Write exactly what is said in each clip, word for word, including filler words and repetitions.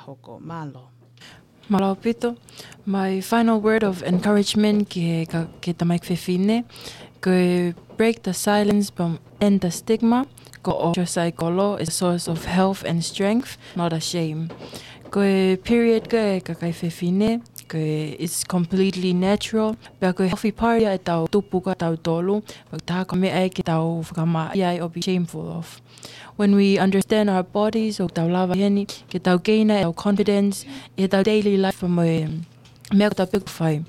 fakahoko. Mālō. Mālō ʻaupito. My final word of encouragement ki he ka-, ki he tamaiki fefine, ko e break the silence from, and the stigma, ko e menstrual cycle is a source of health and strength, not a shame. Ko e period ko e kakai fefine, ko e, it's completely natural, pea ko e healthy part ia ʻetau tupu ko ʻetau tolu, pea ʻoku taha ko e meʻa ia ke tau fakamā ia ʻo be shameful of. When we understand our bodies, ʻoku tau lava heni ke tau gain ʻetau confidence ʻi heʻetau daily life mo e meʻa ko ē ʻoku tau fai.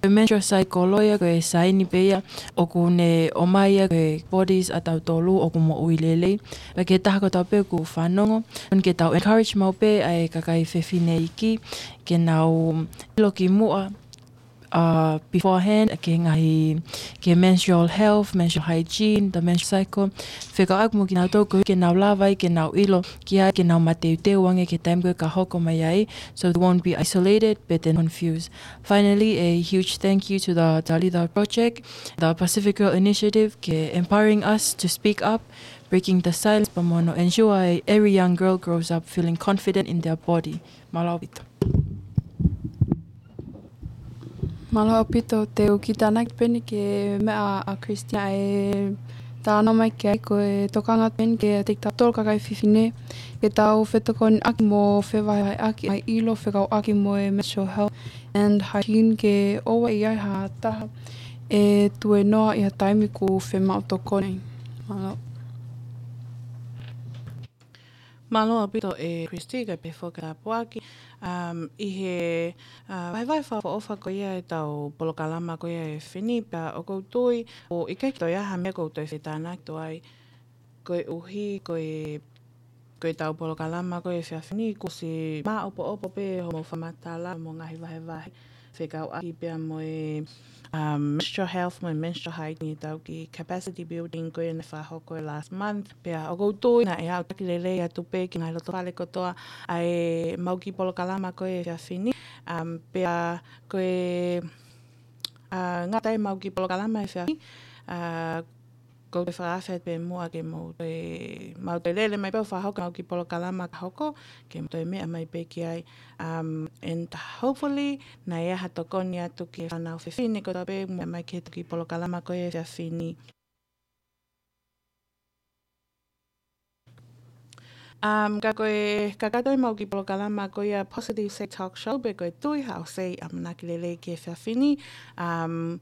Ko e menstrual cycle ia ko e saini pē ia ʻoku ne ʻomai ia ko e bodies ʻa tautolu ʻoku moʻui lelei. Pea ki he taha kotoa pē ʻoku fanongo, ʻoku ou ke tau encourage maʻu pē ʻa e kakai fefine iiki ke nau ʻilo kimuʻa, uh, beforehand, ki he ngaahi, ki he menstrual health, menstrual hygiene, the menstrual cycle. Fekauʻaki mo kinautolu koeʻuhi ke nau lava ai ke nau ʻilo ki ai, ke nau mateuteu ange ki he taimi ko ē ka hoko mai ai, so they won't be isolated, but then confused. Finally, a huge thank you to the Talitha Project, the Pacific Girl Initiative, ki he empowering us to speak up, breaking the silence, pea mo hono ensure every young girl grows up feeling confident in their body. Mālō ʻaupito. Mālō ʻaupito, te u kiʻi tānaki pē eni ki he meʻa ʻa Christina ʻe talanoa mai ki ai, ko e tokanga pē eni kiate kitautolu kakai fefine, ke tau fetokoniʻaki mo fevahevaheʻaki ʻa e ʻilo fekauʻaki mo e menstrual health and hygiene, ke ʻoua ʻe ʻi ai ha taha ʻe tuēnoa ʻi ha taimi ʻoku fiemaʻu tokoni. Mālō. Mālō ʻaupito ʻe Christy, kae pehē foki e tāpuaki, um, ʻi he, uh, vahevahe fakaʻofoʻofa ko ia ʻetau polokalama ko ia ʻa e efiafi ni, pea ʻoku ou tui ʻoku ʻikai ke toe ʻi ai ha meʻa ʻoku ou toe fetānaki atu ai, koeʻuhi ko e, ko ʻetau polokalama ko ia ʻa e efiafi ni kuo ʻosi māʻopoʻopo pē hoʻomou fakamatala mo e ngaahi vahevahe fekauʻaki pea mo e, um, menstrual health mo e menstrual hygiene, ʻetau kiʻi capacity building ko ia naʻe fakahoko last month. Pea ʻoku ou tui naʻe aʻutaki lelei atu pē ki he ngaahi lotofale kotoa ʻa ʻemau kiʻi polokalama ko ia ʻa e efiafi ni. Um, pea ko e, uh, ngata ai ʻemau kiʻi polokalama ʻa e efiafi ni, uh, ʻoku ou toe fakaafe atu pē muʻa ke mou toe, mou toe lele mai pē ʻo fakahoko ʻemau kiʻi polokalama ka hoko, ke mou toe meʻa mai pē ki ai. Um, and hopefully, naʻe ʻi ai ha tokoni atu ki he fānau fefine kotoa pē ʻoku meʻa mai ki heʻetau kiʻi polokalama ko ia ʻa e efiafi ni. Um, ka ko e kakato ʻemau kiʻi polokalama ko ia Positive Say Talk Show, pe ko e Tui Haʻo Say ʻAmanaki Lelei ki he efiafi ni. Um,